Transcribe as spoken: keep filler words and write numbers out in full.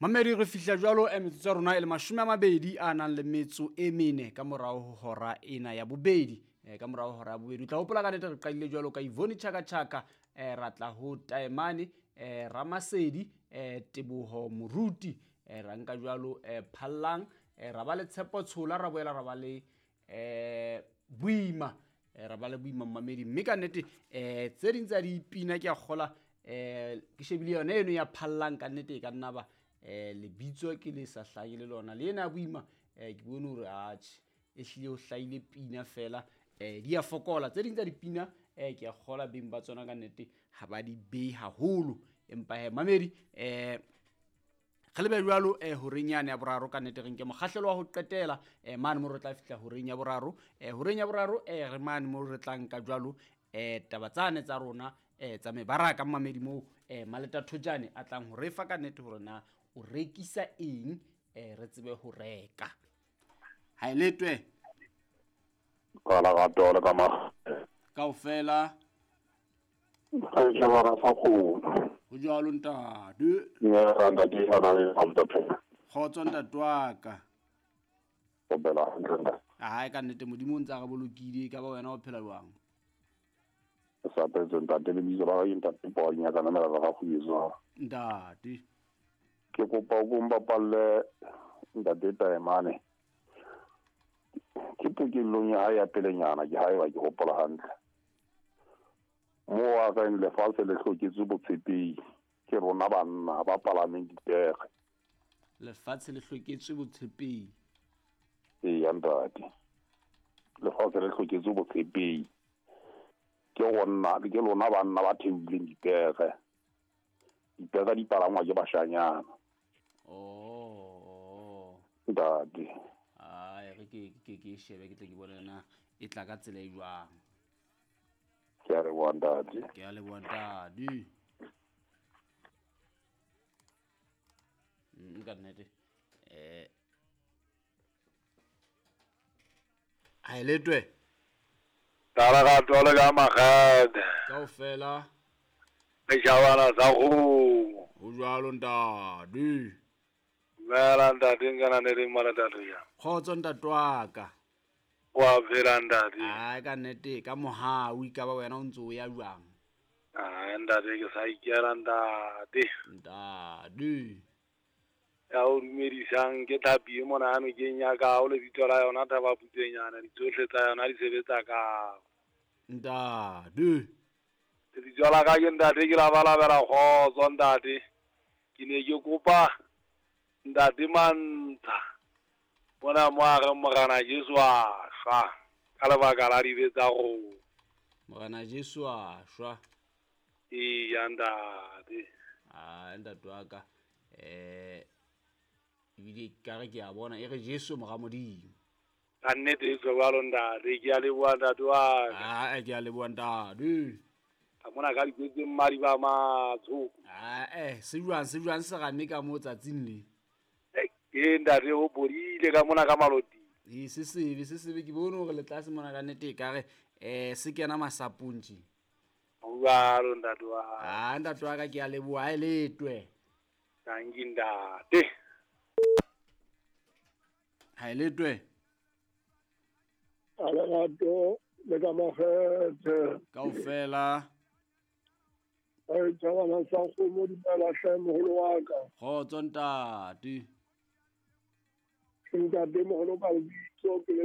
Mamedi re fihla jwalo eh, metsotso ya rona e le mashome a mabedi a nang le metso e mene ka morao ho hora ena ya bobedi. Eh, ka morao ho hora ya bobedi o tla hopola ka nnete re qadile jwalo ka Yvonne Chaka Chaka, eh, ra tla ho Taemane, eh, Ramasedi, eh, Teboho Moruti, eh, ra nka jwalo eh, Phallang, eh, ra ba le Tshepo Tshola, ra boela ra ba le eh, Boima, eh, ra ba le Boima Mamedi. Mme ka nnete eh, tse ding tsa dipina ke a kgola eh, ke shebile yona eno ya Phallang, ka nnete e ka nna ba eh lebitso ke le sa hlahe le lona le ena ya Boima, eh ke bone hore atjhe e hlile ho hlahile pina fela, eh di a fokola tse ding tsa dipina, eh ke a kgola beng ba tsona ka nnete ha ba di behe haholo. Empa he mamedi eh re lebe jwalo eh horeng yane ya boraro ka nnete re nke mokgahlelo wa ho qetela, eh mane mo re tla fihla horeng ya boraro, eh horeng ya boraro eh re mane mo re tla nka jwalo eh taba tsane tsa rona eh tsa mebaraka mamedi moo eh Maleta Thojane a tlang ho re fa ka nnete hore na o rekisa eng, eh re tsebe ho reka. Ha e letwe ka la gato le ka ma kaofela ga ba ra fa go ho jwalo ntate. Ne ra ntate ha na le amta Kgotso ntate wa ka. O bela hantle. Hae ka nnete Modimo o ntse a re bolokile, ka ba wena o phela jwang? Sa phetse ntate le bitso la ga ntate Ponya ka namela ga go yezwa. Ntate ke kopa o mbapalle ntate Taemane. Ke pokellong ya hae ya pelenyana ke hae wa ke hopola hantle. Mo a ka lefatshe le hloketse botshepehi ke rona banna ba palameng dipere. Lefatshe le hloketse botshepehi. Ee ntate. Lefatshe le hloketse botshepehi. Ke rona ke lona banna ba theuleng dipere. Dipere di palangwa ke bashanyana. Oh. Ntate. Ai re ke ke ke shebe ke tle ke bone na e tla ka tsela e jwang. Ke a leboha ntate. Ke a leboha ntate. Mm ka nnete. Eh ha e letwe. Tala ga tole ka magede. Kaofela. Le jabana sa go. Ho jwalo ntate. Mela ntate ngana ne re mala ntate ya. Kgotso ntate wa ka. Wa phela ntate. Ai ka nnete ka mohau ka ba wena o ntse o ya jwang? Ah ntate ke sa ikela ntate. Ntate. Ya o dumedisang ke thapi e mona ano ke nyaka o le bitso la yona thaba putsenyana ditsohle tsa yona di sebetsa ka. Ntate. Lebitso la ka ke ntate ke la balabela kgotso ntate. Ke ne ke kopa ntate Mantsha bona mo a re Morena Jesu a shwa ka lebaka la dibe tsa rona. Morena Jesu a shwa. Eya ntate. Ah ntate wa ka eh ebile ka re ke a bona e re Jesu mora Modimo. Ka nnete e jwalo ntate, ke a leboha ntate wa ka. Ah ke a leboha ntate. Ka mona ka dikwetse mmadi ba matsho. Ah eh se jwang se jwang se rame ka mo tsatsing le. Ke ntate o bodile ka mona ka maloti. E se sebe se sebe ke bone hore le tlase mona ka nnete e ka re eh se kena masapong tje. Jwalo ntate wa. Ah ntate wa ka ke a leboha e letwe. Thank you ntate. Ha e letwe. Alerato le ka magete. Kaofela. Ai tsana sa go mo dumela hle moholo wa ka. Kgotso ntate. Ntate moholo ka lebitso ke le